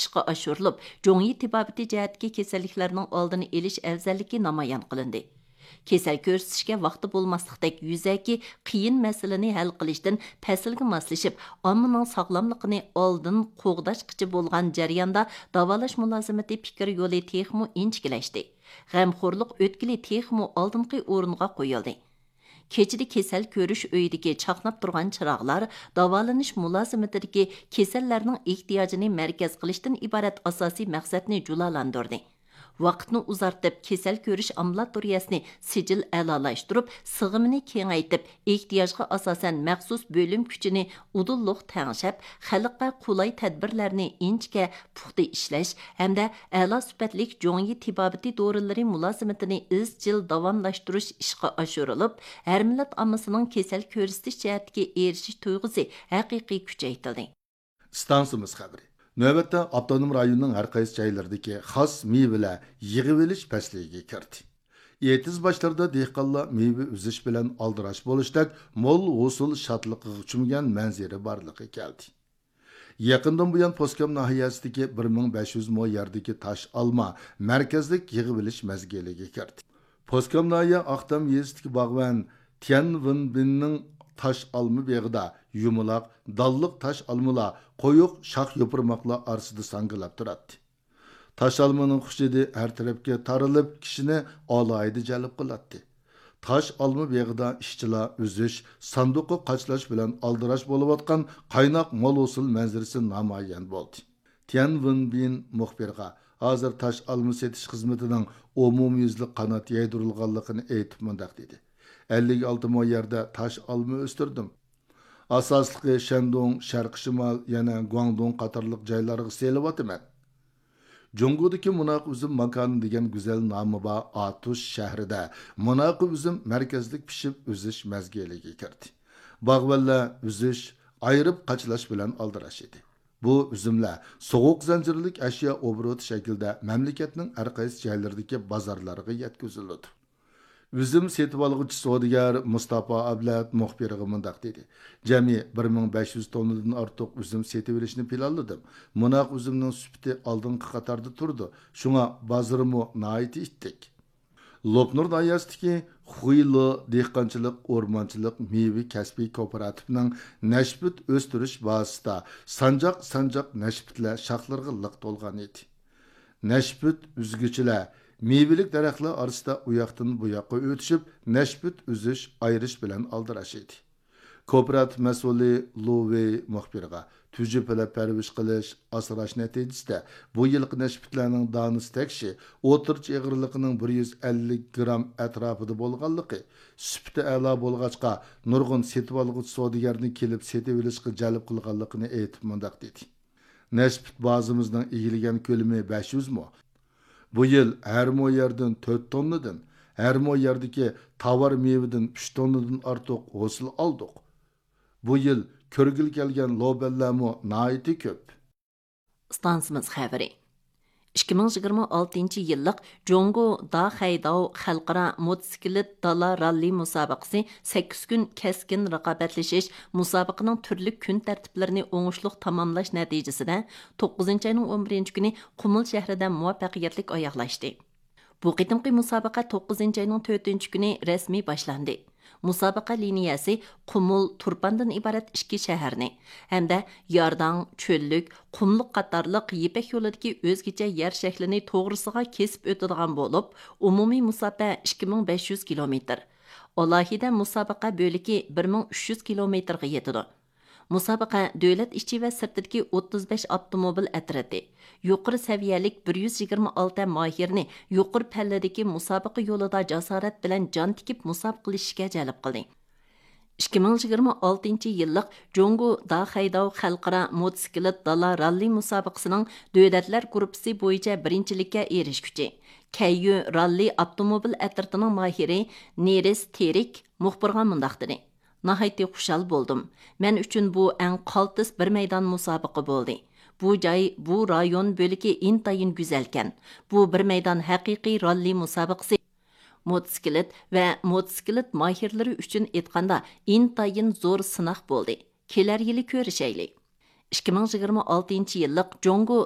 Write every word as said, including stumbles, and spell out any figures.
ئىشقا ئاشۇرۇلۇپ، جۇڭيى تېبابىتى جەھەتتىكى كېسەللىكلەرنىڭ ئالدىنى ئېلىش ئەۋزەللىكى نامايان قىلىندى. كېسەل كۆرسىتىشكە ۋاقتى بولماسلىقتەك يۈزەكى قىيىن مەسىلىنى ھەل قىلىشتىن پەسىلگە ماسلىشىپ، ئاممىنىڭ ساغلاملىقىنى ئالدىن قوغداشقىچە بولغان جەرياندا داۋالاش مۇلازىمىتى پىكىر يولى تېخىمۇ ئىنچىكىلەشتى. غەمخورلۇق ئۆتكىلى تېخىمۇ ئالدىنقى ئورۇنغا قويۇلدى. كېچىدە كېسەل كۆرۈش ئۆيىدىكى چاقناپ تۇرغان چىراغلار داۋالىنىش مۇلازىمىتىدىكى كېسەللەرنىڭ ئېھتىياجىنى مەركەز قىلىشتىن ئىبارەت ئاساسىي مەقسەتنى جۇلالاندۇردى. ۋاقىتنى ئۇزارتىپ، كېسەل كۆرۈش ئامبۇلاتورىيەسىنى سىجىل ئەلالاشتۇرۇپ، سىغىمىنى كېڭەيتىپ، ئېھتىياجغا ئاساسەن مەخسۇس بۆلۈم كۈچىنى ئۇدۇللۇق تەڭشەپ، خەلققە قولاي تەدبىرلەرنى ئىنچىكە، پۇختا ئىشلەش ھەمدە ئەلا سۈپەتلىك جۇڭيى تېبابىتى دورىلىرى مۇلازىمىتىنى ئىزچىل داۋاملاشتۇرۇش ئىشقا ئاشۇرۇلۇپ، ھەر مىللەت ئاممىسىنىڭ كېسەل كۆرسىتىش جەھەتتىكى ئېرىشىش تۇيغۇسى ھەقىقىي كۈچەيتىلدى. ئىستانسىمىز خەۋىرى. نۆۋەتتە ئاپتونوم رايوننىڭ ھەر قايسى جايلىرىدىكى خاس مېۋىلەر يىغىۋېلىش پەسلىگە كىردى. ئېتىز باشلىرىدا دېھقانلار مېۋە ئۈزۈش بىلەن ئالدىراش بولۇشتەك مول ھوسۇل شادلىقىغا چۆمگەن مەنزىرە بارلىققا كەلدى. يېقىندىن بۇيان، پوسكام ناھىيەسىدىكى بىر مىڭ بەش يۈز مو يەردىكى تاش ئالما مەركەزلىك يىغىۋېلىش مەزگىلىگە كىردى. پوسكام ناھىيە ئاقتام يېزىسىدىكى باغۋەن تيەن ۋېنبىننىڭ تاش ئالما بېغىدا يۇمىلاق، دانلىق تاش ئالمىلار قويۇق شاخ يوپۇرماقلار ئارىسىدا ساڭگىلاپ تۇراتتى. تاش ئالمىنىڭ خۇش ھىدى ھەر تەرەپكە تارىلىپ، كىشىنى ئالاھىدە جەلپ قىلاتتى. تاش ئالما بېغىدا ئىشچىلار ئۈزۈش، ساندۇققا قاچىلاش بىلەن ئالدىراش بولۇۋاتقان قايناق مول ھوسۇل مەنزىرىسى نامايان بولدى. تيەن ۋېنبىن مۇخبىرغا ھازىر تاش ئالما سېتىش خىزمىتىنىڭ ئومۇميۈزلۈك قانات يايدۇرۇلغانلىقىنى ئېيتىپ مۇنداق دېدى: ئەللىك ئالتە مو يەردە تاش ئالما ئۆستۈردۈم. ئاساسلىقى شەندۇڭ، شەرقىي شىمال، يەنە گۇاڭدۇڭ قاتارلىق جايلارغا سېلىۋاتىمەن. جۇڭگودىكى مۇناقى ئۈزۈم ماكانى دېگەن گۈزەل نامى بار ئاتۇش شەھىرىدە مۇناقى ئۈزۈم مەركەزلىك پىشىپ ئۈزۈش مەزگىلىگە كىردى. باغۋەنلەر ئۈزۈش، ئايرىپ قاچىلاش بىلەن ئالدىراش ئىدى. بۇ ئۈزۈملەر سوغۇق زەنجىرلىك ئەشيا ئوبوروتى شەكلىدە مەملىكەتنىڭ ھەر قايسى جايلىرىدىكى بازارلارغا يەتكۈزۈلىدۇ. ئۈزۈم سېتىۋالغۇچى سودىگەر مۇستاپا ئابلەت مۇخبىرغا مۇنداق دېدى: جەمئىي بىر مىڭ بەش يۈز توننىدىن ئارتۇق ئۈزۈم سېتىۋېلىشنى پىلانلىدىم. مۇناق ئۈزۈمنىڭ سۈپىتى ئالدىنقى قاتاردا تۇرىدۇ، شۇڭا بازىرىمۇ ناھايىتى ئىتتىك. لوپنۇر ناھىيەسىدىكى خۇيلې دېھقانچىلىق، ئورمانچىلىق، مېۋە كەسپىي كوپىراتىپىنىڭ نەشپۈت ئۆستۈرۈش بازىسىدا سانجاق-سانجاق نەشپۈتلەر شاخلىرىغا لىق تولغان ئىدى. نەشپۈت ئۈزگۈچىلەر مېۋىلىك دەرەخلەر ئارىسىدا ئۇياقتىن بۇياققا ئۆتۈشۈپ، نەشپۈت ئۈزۈش، ئايرىش بىلەن ئالدىراش ئىدى. كوپىراتىپ مەسئۇلى لۇ ۋېي مۇخبىرغا، تۈجۈپىلەپ پەرۋىش قىلىش، ئاسراش نەتىجىسىدە بۇ يىلقى نەشپۈتلەرنىڭ دانىسى تەكشى ئوتتۇرىچە ئېغىرلىقىنىڭ بىر يۈز ئەللىك گرام ئەتراپىدا بولغانلىقى، سۈپىتى ئەلا بولغاچقا، نۇرغۇن سېتىۋالغۇچى سودىگەرنى كېلىپ سېتىۋېلىشقا جەلپ قىلغانلىقىنى ئېيتىپ مۇنداق دېدى: نەشپۈت بازىمىزنىڭ ئىگىلىگەن كۆلىمى بەش يۈز مو. بۇ يىل ھەر مو يەردىن تۆت توننىدىن، ھەر مو يەردىكى تاۋار مېۋىدىن ئۈچ توننىدىن ئارتۇق ھوسۇل ئالدۇق. بۇ يىل كۆرگىلى كەلگەن لوبەنلەرمۇ ناھايىتى كۆپ. ئىستانسىمىز خەۋىرى. ئىككى مىڭ يىگىرمە ئالتىنچى يىللىق جۇڭگو داخەيداۋ خەلقئارا موتوسىكلىت دالا راللى مۇسابىقىسى سەككىز كۈن كەسكىن رىقابەتلىشىش، مۇسابىقىنىڭ تۈرلۈك كۈن تەرتىپلىرىنى ئوڭۇشلۇق تاماملاش نەتىجىسىدە، توققۇزىنچى ئاينىڭ ئون بىرىنچى كۈنى قۇمۇل شەھىرىدە مۇۋەپپەقىيەتلىك ئاياغلاشتى. بۇ قېتىمقى مۇسابىقە توققۇزىنچى ئاينىڭ تۆتىنچى كۈنى رەسمىي باشلاندى. مۇسابىقە لىنىيەسى قۇمۇل، تۇرپاندىن ئىبارەت ئىككى شەھەرنى ھەمدە يارداڭ، چۆللۈك، قۇملۇق قاتارلىق يىپەك يولىدىكى ئۆزگىچە يەر شەكلىنى توغرىسىغا كېسىپ ئۆتىدىغان بولۇپ، ئومۇمىي مۇساپە ئىككى مىڭ بەش يۈز كىلومېتىر، ئالاھىدە مۇسابىقە بۆلىكى بىر مىڭ ئۈچ يۈز كىلومېتىرغا يېتىدۇ. مۇسابىقە دۆلەت ئىچى ۋە سىرتىدىكى ئوتتۇز بەش ئاپتوموبىل ئەترىتى، يۇقىرى سەۋىيەلىك بىر يۈز يىگىرمە ئالتە ماھىرنى يۇقىرى پەللىدىكى مۇسابىقە يولىدا جاسارەت بىلەن جان تىكىپ مۇسابىقىلىشىشكە جەلپ قىلدى. ئىككى مىڭ يىگىرمە ئالتىنچى يىللىق جۇڭگو داخەيداۋ خەلقئارا موتوسىكلىت دالا راللى مۇسابىقىسىنىڭ دۆلەتلەر گۇرۇپپىسى بويىچە بىرىنچىلىككە ئېرىشكۈچى، كەييۈ راللى ئاپتوموبىل ئەترىتىنىڭ ماھىرى نېرىس تېرىك مۇخبىرغا مۇنداق دېدى: ناھايىتى خۇشال بولدۇم. مەن ئۈچۈن بۇ ئەڭ قالتىس بىر مەيدان مۇسابىقە بولدى. بۇ جاي، بۇ رايون بۆلىكى ئىنتايىن گۈزەلكەن. بۇ بىر مەيدان ھەقىقىي راللى مۇسابىقىسى. موتوسىكلىت ۋە موتوسىكلىت ماھىرلىرى ئۈچۈن ئېيتقاندا، ئىنتايىن زور سىناق بولدى. كېلەر يىلى كۆرۈشەيلى. ئىككى مىڭ يىگىرمە ئالتىنچى يىللىق جۇڭگو